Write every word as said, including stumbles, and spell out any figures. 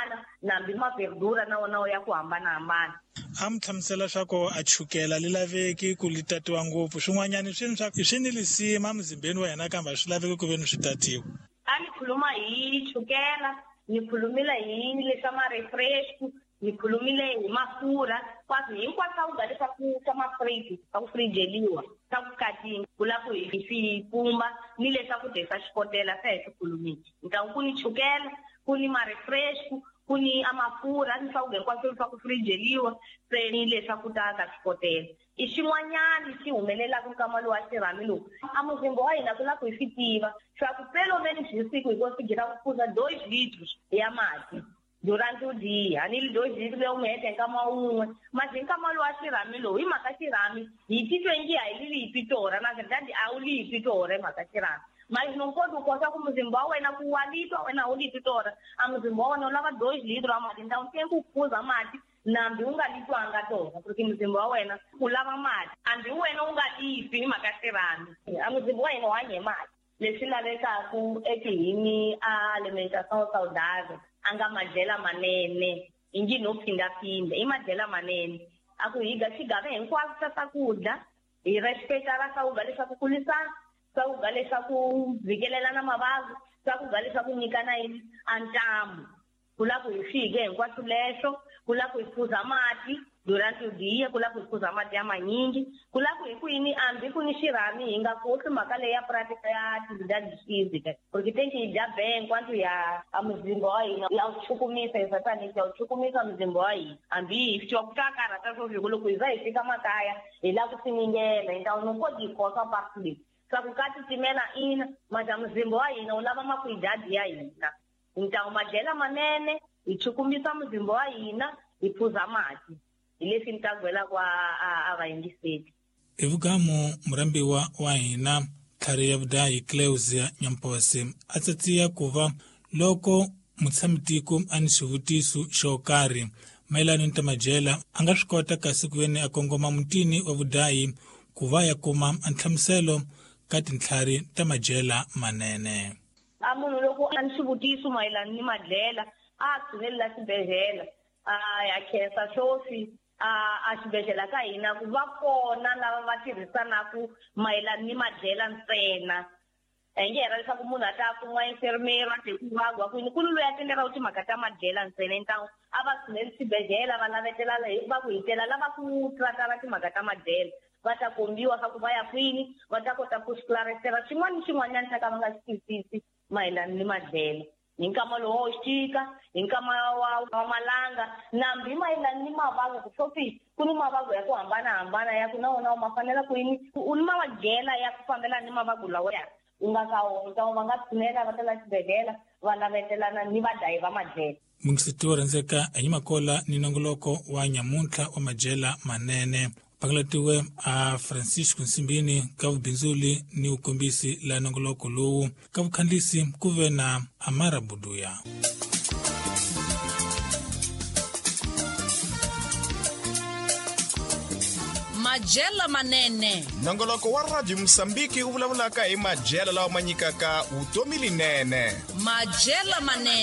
hambanahambana nambi ma-verdura na wona ya ku hambanahambana. A mi hlamusela swa ku a chukela li laveki ku li tatiwa ngopfu, swin'wanyana swi swa swi ni lisima emzimbeni wa hina kambe a swi laveki ku ve ni swi tatiwa. A ni khuluma hi chukela, ni khulumile hi leswa ma-refresh, ni khulumile hi mafurha, kwaswi hinkwaswo swakudya leswaku swa mafriji swa ku frijeliwa swa ku katinga ku lava ku hi swi pumba ni leswaku dya xikotela se hi swi khulumile. Ntawu ku ni chukela, ku ni ma-refresh, ku ni a mafurha ni swakudya hinkwaswo swa ku frijeliwa se ni leswaku ta ka xikotela. I xin'wanyana xi humelelaka nkama lowu wa xirhami lowu a muzimba wa hina ku lava ku hi swi tiva swa ku pelo menos hi siku hi konsigira ku phuza dois litros ya mati durante o dia, ni dois litros ya umhete nkama wun'we. Mas hi nkama lowu wa xirhami lowu hi mhaka xirhami hi titwe ngi a hi li hi torha, na verdade a wu li hi torha hi mhaka xirhami. Mas não pode kota ku muzimba wa wena ku wa litwa wena a wu li torha, a muzimba wa wena wu lava dois litros ya mati, então tem ku phuza mati nambi u nga litwanga torha porque muzimba wa wena wu lava mati, hambi wena u nga lipi hi mhaka xirhami, a muzimba wa hina wu hanya hi mati. Leswi lavekaku etihini a alimentação saudável a nga madyela manene i ngi no phindaphinda i madyela manene a ku hi ga xigava hinkwaswo swa swakudya hi respecta ra swakudya leswaku kulisana, swakudya leswaku vhikelelana mavabyi, swakudya leswaku nyikana yini a ntamu. Ku lava ku hi fike hinkwaswo leswo, ku lava ku hi phuza mati durante o dia, ku lava ku hi phuza mati ya manyingi, ku lava ku hi ku yini hambi ku ni xirhami hi nga khohlwi mhaka leyi ya prática ya atividade física, porque tem que dya bem enquanto ya a muzimba wa hina ya wu chukumisa exatamente, ya wu chukumisa muzimba wa hina hambi hi twa ku ta karhata swo fika loko hi za hi fika makaya hi lava ku finingela, então não pode khohlwa parte leyi swa ku ka titimela ina mas a muzimba wa hina wu lava makwidadi ya hina. Então madyela manene hi chukumisa muzimba wa hina hi phuza mati hi leswi ni ta gwelaka a a va yingiseli. I vugamu murambiwa wa hina tlhari ya vudayi Cleusia Nyamposi a tsatsiya ku va loko mutshamitiko a ni xivutiso xo karhi mayelana ni ta madyela a nga swi kota kasi ku veni a kongoma mutini wa vudayi ku va ya kuma nhlamuselo ka tintlhari ta madyela manene. A munhu loko a ni xivutiso mayelana ni madyela a tshunelela xibedhlele a ya khensa swoswi a a xibedhlele ka hina ku va kona lava va tirhisanaku mayelana ni madyela ntsena. A nge hera leswaku munhu a ta kuma enfermeiro a te ku vagwa kwini ku ni loyi a tendela timhaka ta madyela ntsena, então a va tshuneli xibedhlele va lavetela va ku hitela lava ku tratara timhaka ta madyela va ta kombiwa swa ku va ya kwini va ta kota ku swi xin'wana ni xin'wanyana xa ka va nga xi twisisi mayelana ni madyela hi nkama lowu wa xixika, hi nkama wa wa malanga nambi mayelana ni mavabyi ku sofi ku ni mavabyi ya ku hambanahambana ya ku na wona ma fanela ku yini u ni madyela ya ku fambelana ni mavabyi lawa ya u nga ka wona, então va nga tshunela va tela xibedhlele va lavetelana ni vadlayi va madyela. Mungiseti wo rhandzeka hi Makola ni nongoloko wa nyamuntlha wa madyela manene pakalatiwe a Francisco Nsimbini ka vubindzuli ni vukombisi la nongoloko lowu ka vukhandlisi ku ve na Amara Buduya. Madyela manene nongoloko wa Radio Mosambiki wu vulavulaka hi madyela lawa ma nyikaka vutomi linene. Madyela manene.